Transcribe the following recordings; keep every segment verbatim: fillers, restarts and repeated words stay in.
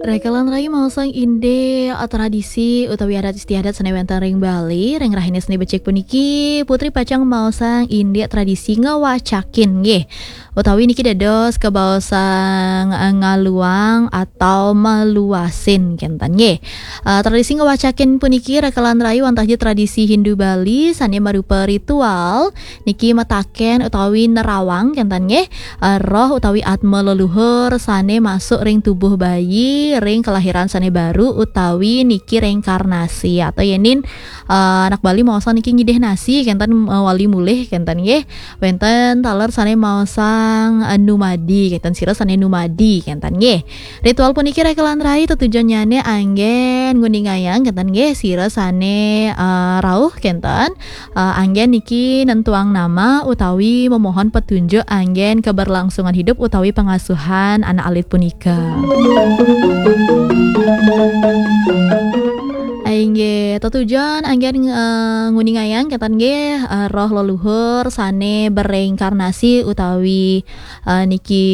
Rekelan rai maosang indik tradisi utawi adat istiadat sane wenten ring Bali, ring rahina Senin becik puniki, Putri pacang maosang indik tradisi ngewacakin nggih. Utawi niki dados kebaosang, eh, ngaluang atau meluasin kenten nggih. Eh, tradisi ngewacakin puniki rekelan rai wantah ja tradisi Hindu Bali sane marupa ritual niki mataken utawi nerawang kenten nggih, eh, roh utawi atma leluhur sane masuk ring tubuh bayi ring kelahiran sane baru utawi niki reinkarnasi atau yenin, eh, anak Bali maosang niki ngidih nasi kenten, eh, wali mulih kenten nggih. Wenten taler sane maosang, eh, numadi kenten sira sane numadi kenten nggih. Ritual puniki rekelan rai tetujonnyane anggen nguningayang kenten nggih sira sane, eh, rauh kenten, eh, anggen niki nentuang nama utawi memohon petunjuk anggen keberlangsungan hidup utawi pengasuhan anak alit punika. Inggih, tetujon anggen, eh, nguningayang kenten nggih, eh, roh leluhur sane bereinkarnasi utawi, eh, niki,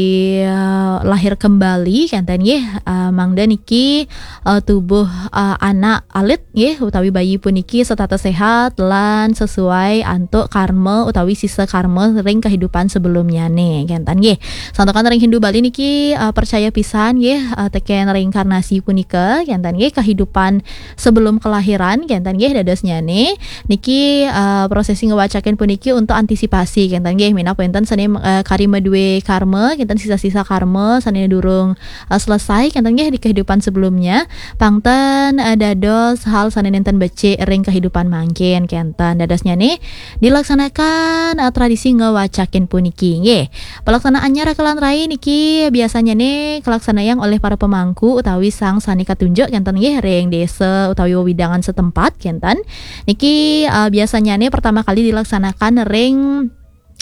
eh, lahir kembali kenten nggih, eh, mangda niki, eh, tubuh, eh, anak alit nggih utawi bayi puniki setata sehat lan sesuai antuk karma utawi sisa karma ring kehidupan sebelumnyane kenten nggih. Santukan ring Hindu Bali niki, eh, percaya pisan nggih, eh, teken reinkarnasi punika kenten nggih, kehidupan sebelum kelahiran kenten nggih dadosnyane. Niki, eh, prosesi ngewacakin puniki untuk antisipasi kenten nggih, minab wenten sane, eh, kari madue karma kenten sisa-sisa karma sane durung, eh, selesai kenten nggih di kehidupan sebelumnya. Pangten, eh, dados hal sane nenten becik ring kehidupan mangkin kenten. Dadosnyane dilaksanakan, eh, tradisi ngewacakin puniki nggih. Pelaksanaannya rekelan rai niki biasanyane kalaksanayang oleh para pemangku utawi sang sane katunjuk kenten nggih ring desa utawi wewidangan setempat kenten. Niki, eh, biasanyane pertama kali dilaksanakan ring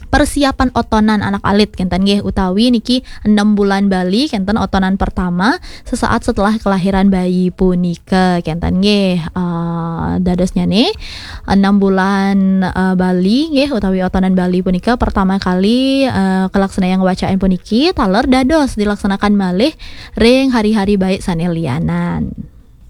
persiapan otonan anak alit kenten nggih utawi niki enam bulan Bali kenten otonan pertama sesaat setelah kelahiran bayi punika kenten nggih. Eh, dadosnyane enam bulan, eh, Bali nggih utawi otonan Bali punika pertama kali, eh, kalaksanayang wacain puniki taler dados dilaksanakan malih ring hari-hari baik sane lianan.